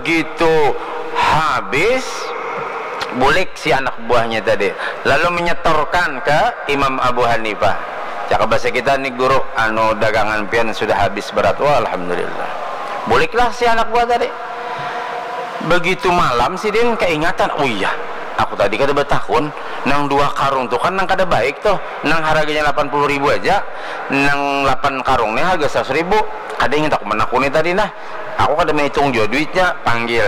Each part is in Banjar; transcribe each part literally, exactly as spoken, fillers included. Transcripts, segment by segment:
Itu habis, bulik si anak buahnya tadi, lalu menyetorkan ke Imam Abu Hanifah. Cakap bahasa kita ni, "Guru, anu, dagangan pian sudah habis berat." "Wah, alhamdulillah." Buliklah si anak buah tadi. Begitu malam, sidin keingatan, "Oh iya, aku tadi kada betakun, nang dua karung tu kan nang kada baik tuh, nang harganya lapan puluh ribu aja, nang lapan karung ni harga seratus ribu." Kada ingat aku menakuni tadi nah. Aku kada menghitung jua duitnya, panggil.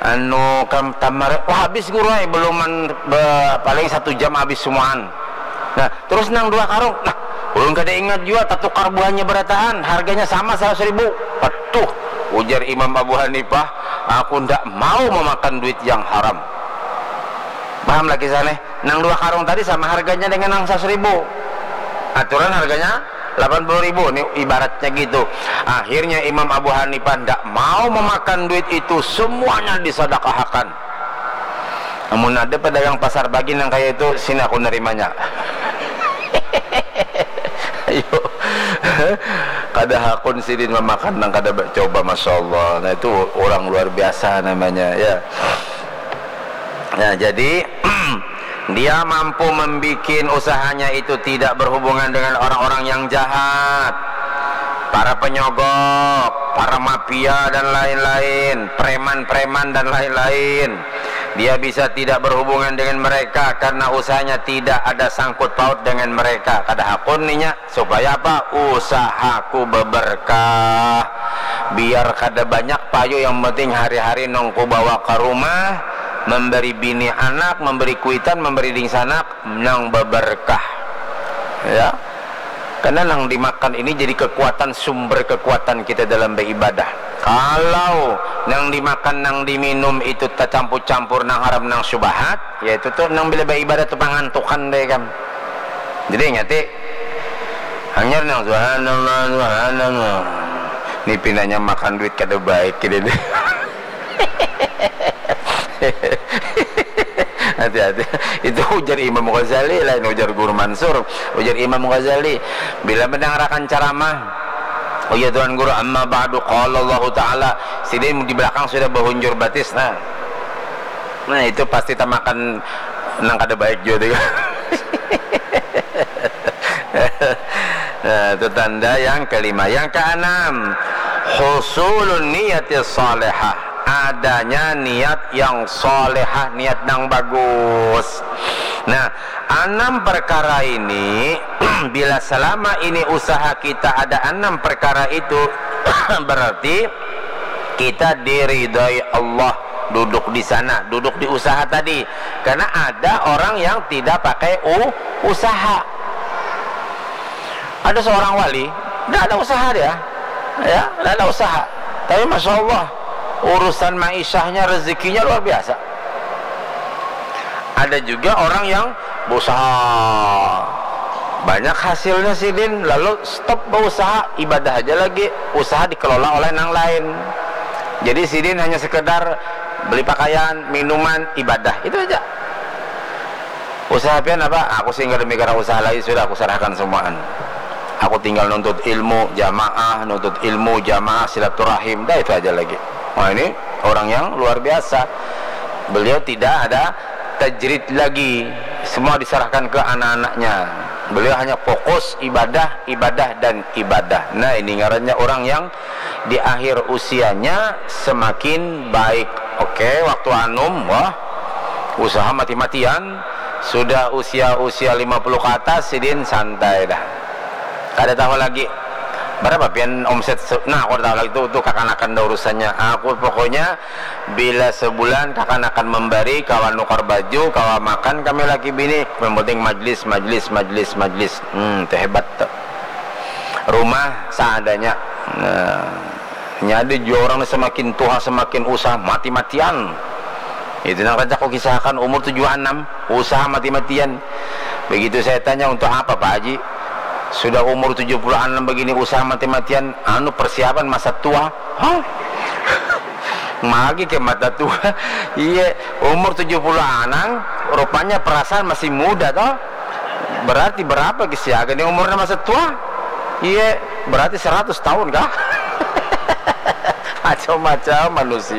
Anu, kam tamar, "Wah, habis, Guru ai, beluman be-, paling satu jam habis semuaan." Nah, terus nang dua karung, nah, ulun kada ingat jua, tatukar buahnya berataan, harganya sama seratus ribu. "Aduh," ujar Imam Abu Hanifah, "aku ndak mau memakan duit yang haram." Paham lagi sana? Nang dua karung tadi sama harganya dengan nang seratus ribu. Aturan harganya lapan puluh ribu, ini ibaratnya gitu. Akhirnya Imam Abu Hanifah ndak mau memakan duit itu, semuanya disadakahakan. Amun ada pedagang pasar pagi nang kayak itu, sini aku nerimanya. Ayo. Kada hakun sidin memakan nang kada ba-, coba, Masya Allah. Nah, itu orang luar biasa namanya, ya. Nah, jadi dia mampu membuat usahanya itu tidak berhubungan dengan orang-orang yang jahat, para penyogok, para mafia dan lain-lain, preman-preman dan lain-lain. Dia bisa tidak berhubungan dengan mereka karena usahanya tidak ada sangkut paut dengan mereka. Kada hakun ninya. Supaya apa? Usahaku beberkah. Biar kada banyak payu, yang penting hari-hari nang kubawa ka rumah, memberi bini anak, memberi kuitan, memberi dingsanak, nang beberkah. Ya. Karena nang dimakan ini jadi kekuatan, sumber kekuatan kita dalam beribadah. Kalau nang dimakan, nang diminum itu tacampur-campur nang haram, nang syubhat, yaitu tuh nang bila beribadah tuh pangantukan deh kam. Jadi ingati, hanyar nang subhanallah, subhanallah. Ni pinanya makan duit kada baik gini deh. Hati-hati. Itu ujar Imam Ghazali, lain ujar Guru Mansur. Ujar Imam Ghazali, bila mendangarakan ceramah, "Oh ya Tuan Guru, amma ba'du, qala Allahu Ta'ala." Sidin di belakang sudah bahunjur batis, nah. Nah, itu pasti tamakan nang kada baik juga tuh. Nah, itu tanda yang kelima. Yang keenam, husulun niyati salihah. Adanya niat yang salihah, niat yang bagus. Nah, enam perkara ini, bila selama ini usaha kita ada enam perkara itu, berarti kita diridhoi Allah duduk di sana, duduk di usaha tadi. Karena ada orang yang tidak pakai u-, usaha. Ada seorang wali, nggak ada usaha dia, ya, nggak ada usaha. Tapi masya Allah, urusan maisahnya, rezekinya luar biasa. Ada juga orang yang berusaha banyak hasilnya sidin, lalu stop berusaha, ibadah aja lagi, usaha dikelola oleh nang lain. Jadi sidin hanya sekedar beli pakaian, minuman, ibadah, itu aja. Usaha pian apa? Aku sih nggak mikir usaha lain, sudah aku serahkan semuaan. Aku tinggal nuntut ilmu jamaah, nuntut ilmu jamaah, silaturahim, dah itu aja lagi. Nah, ini orang yang luar biasa. Beliau tidak ada tajrid lagi. Semua diserahkan ke anak-anaknya. Beliau hanya fokus ibadah, ibadah, dan ibadah. Nah, ini ngarannya orang yang di akhir usianya semakin baik. Oke, waktu anum, wah, usaha mati-matian. Sudah usia-usia lima puluh ke atas, sidin santai dah. Kada tahu lagi berapa pian omset se-, nah, aku kada tahu lagi tu, tu kakanakan dah urusannya. Aku pokoknya bila sebulan kakanakan membari, kawa nukar baju, kawa makan kami laki bini, yang penting majlis, majlis, majlis, majlis. Hmm, tu hebat tu. Rumah seadanya. Nah, nya ada jua orang ni semakin tuha semakin usaha mati-matian. Itu nang rancak ku kisahkan, umur tujuh puluh enam, usaha mati-matian. Begitu saya tanya, "Untuk apa, Pak Haji? Sudah umur tujuh puluh enam begini, usaha mati-matian." "Anu, persiapan masa tua." Hah? Magi ke mata tua. Iya, umur tujuh puluh enam, rupanya perasaan masih muda toh. Berarti berapa ke siaga ni umurnya masa tua? Iya, berarti seratus tahun kah? Macam-macam manusia.